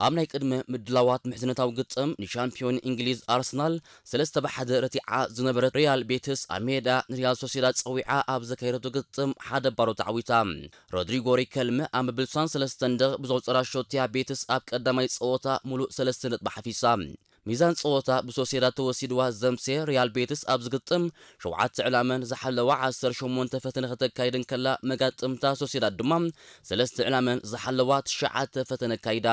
ኣብ ናይ ቅድመ ምድላዋት ምሕዝነታዊ ግጥም ንሻምፒዮን እንግሊዝ ኣርሰናል ሰለስተ ብ ሓደ ረቲዓ ዝነበረት ሪያል ቤትስ ኣብ ሜዳ ንሪያል ሶሴዳድ ጸዊዓ ኣብ ዘካየደቶ ግጥም ሓደ ባዶ ተዓዊታ። ሮድሪጎ ሪከልመ ኣብ መብል ስሳን ሰለስተን ደቕ ብዘቑጸራ ሾትያ ቤትስ ኣብ ቀዳማይ ጸወታ ሙሉእ ሰለስተ ነጥቢ ሓፊሳ። ሚዛን ጸወታ ብሶሴዳድ ተወሲድዋ ዘምሴ ሪያል ቤትስ ኣብ ዝግጥም ሸውዓተ ዕላመን ዝሓለዋ ዓሰርተ ሸሞንተ ፈተነ ከተካይድ እንከላ መጋጥምታ ሶሴዳድ ድማ ሰለስተ ዕላመን ዝሓለዋ ትሽዓተ ፈተነ ኣካይዳ።